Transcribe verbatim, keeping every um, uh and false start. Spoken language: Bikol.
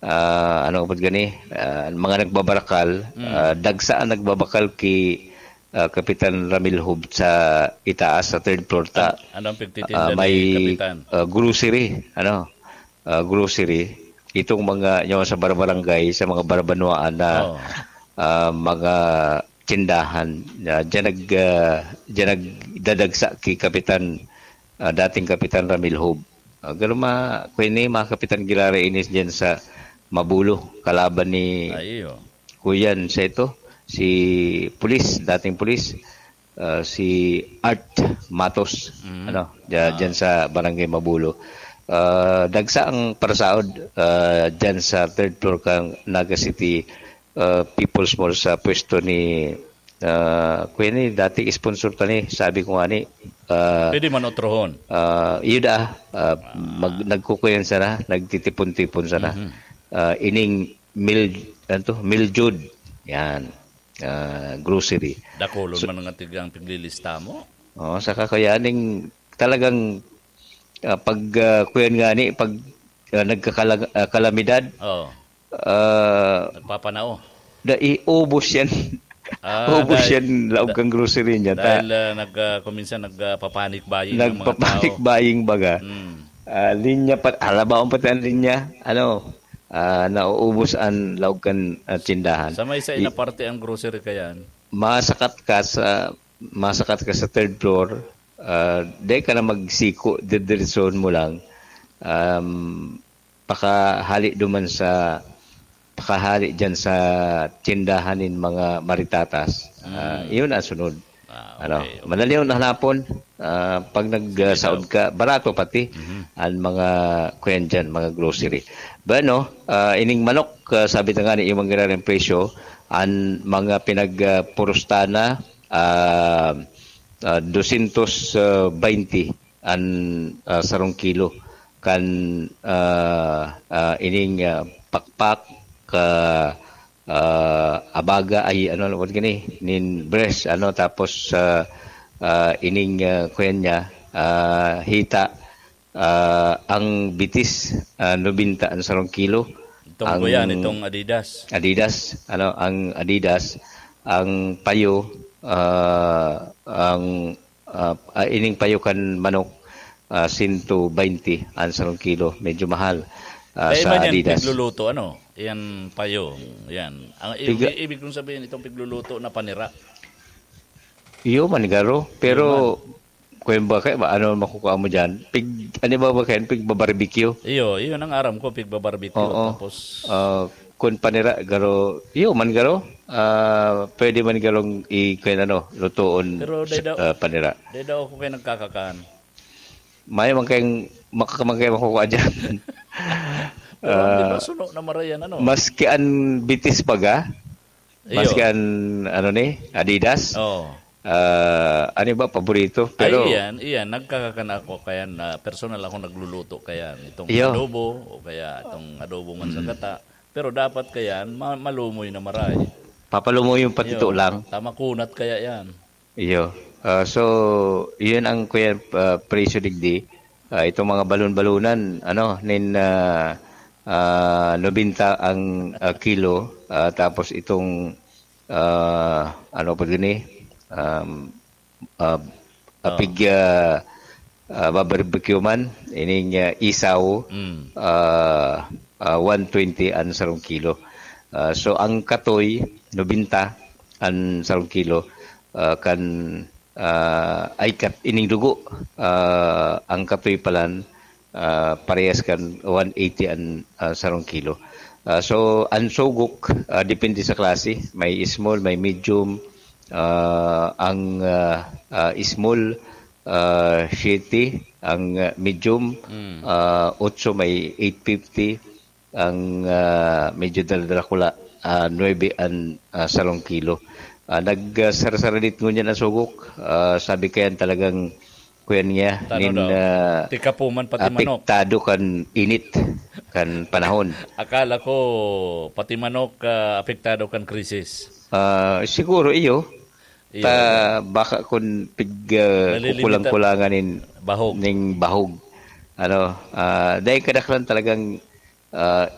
Ah, ano pud gani, ah, mga nagbabarakal, Mm. ah, dagsa ang nagbabakal ki, ah, Kapitan Ramil Hub sa itaas, sa third floor ta. An-, ano ang pigtitinda Ah, ni may, Kapitan? ah, grocery, ano, ah, grocery. Itong mga, yung sa barbarangay, sa mga barabanwaan na, Oo. ah, mga tindahan. Ah, diyan nag, ah, diyan nagdadagsa ki Kapitan, ah, dating Kapitan Ramil Hub. Ah, garo ma-, kung ini, mga kapitan, girara ini diyan sa Mabulo, kalaban ni Ay, iyo. Kuyan sa ito, si pulis, dating pulis, ah, si Art Matos, Mm. ano, dya-, Ah. dyan sa Barangay Mabulo. Ah, dagsa ang parasaod, ah, dyan sa third floor kang Naga City, ah, People's Mall sa pwesto ni, ah, kuya ni, dati sponsor ta ni, sabi ko nga ni, ah, Pwede man otrohon. ah, yun ah, ah, mag-, nagkukuyan sana, nagtitipon-tipon sana. Mhm. Ah, ining Mil-, ano to? Miljud. Yan. Ah, grocery. Dakulon So man nga tigang piglilista mo. Oo, saka kaya ning talagang, ah, pag, ah, kuyan nga ni, pag, ah, nagkakala-, ah, kalamidad, Oo. ah, Nagpapanao. da, iubos yan. Ah, Ubos dahil, yan, laog da-, kang grocery niya. Ta-, dahil, ah, nag, ah, kuminsan nagpapanic buying ang mga Nagpapanic tao. buying baga. Mm. Ah, linya pa, halabaon pati ang linya. Ano, ah, nauubos ang laog kan, ah, tindahan. Sa may sa I- ina parte ang grocery kayan? Masakat ka sa, masakat ka sa third floor, ah, di ka na magsiko, didiretsohon mo lang. Um, pakahali duman sa, pakahali dyan sa tindahan nin mga maritatas. Ah, Mm. yun ang sunod. Ah, Ano, okay, okay. madali yung hanapon. Ah, pag Sige nagsaod daw. ka, barato pati Mhm. ang mga, kuyan dyan, mga grocery. Bueno, ah, ining manok, ah, sabi na nga ni Imang Giraray ang presyo, ang mga pinag, ah, purustana, ah, ah, dosyentos baynte ang, ah, sarong kilo. Kan, ah, ah, ining, ah, pakpak, ka, ah, abaga, ay, ano, ano, what gani? Nin breast, ano, tapos, ah, ah, ining, ah, kuyan niya, ah, hita, ah, ang bitis, ah, nobenta ang sarong kilo. Itong Ang kuyan, itong Adidas. Adidas, ano, ang Adidas, ang payo, ah, ang, ah, ah, ining payo kan manok, ah, sento baynte ang sarong kilo. Medyo mahal, ah, Kaya sa iba niyan, Adidas. pigluluto, ano? Yan, payo. Yan. Ang i-, Piga- i-, ibig kong sabihin, itong pigluluto na panira. Iyo man, garo. Pero, Iyo man. kuwan ba, kaya ba, ano makukuha mo dyan? Pig, ano ba ba kayan? Pigbabarbecue? Iyo, iyon ang aram ko, pigbabarbecue. Oo. Tapos Ah, kun panira, garo, iyo man, garo. Ah, pwede man garong i-, kuwan, ano, lutoon Pero sa, dai daw, ah, panira. dai daw ako kayo nagkakakan. Mayo man kayong, makakamang kayo makukuha dyan. Pero ang Ah, di ba suno na marayan, ano? maski ang bitis baga, Iyo. maski ang, ano ni, Adidas, Oo. ah, ano ba, paborito? Ay, Pero iyan, iyan. Nagkakakan ako kaya na personal ako nagluluto kaya itong Iyo. adobo o kaya itong adobo man sa Mm. gata. Pero dapat kaya ma-, malumoy na maray. Papalumoy yung patito Iyo. lang. Tama kunat kaya yan. Iyo. Ah, so, yun ang, kuya, ah, presyo digdi. Ah, itong mga balon-balonan, ano, nin, ah, ah, nobenta ang, ah, kilo. Ah, tapos itong, ah, ano pa gini? Um, ah, Oh. apig, ah, ah, barbecue man, ining, ah, isaw, Mm. ah, ah, one twenty ang sarong kilo. Ah, so, ang katoy, nobenta ang sarong kilo. Ah, kan, ah, ay, kat-, ining dugo, ah, ang katoy palan, ah, parehas kan one eighty ang, ah, sarong kilo. Ah, so, ang sugok, ah, depende sa klase. May small, may medium, ah, ang, ah, ah, small, ah, siyete, ang, ah, medium, Mm. ah, otso, may eight fifty, ang, ah, medyo daladala ko la, ah, nuebe ang, ah, sarong kilo. Ah, nag, ah, sarasaradit ngunyan ang sugok. Ah, sabi kayan talagang, kuyan niya, Tano nin, daw. ah, Tika po man pati manok. apektado kan init, kan panahon. Akala ko, pati manok, ah, apektado kan krisis. Ah, siguro, iyo. Iyo. Ta, baka kun pig, ah, Nalilimita. kukulang-kulangan nin, Bahog. ning bahog. Ano, ah, dahil kadaklan talagang, ah,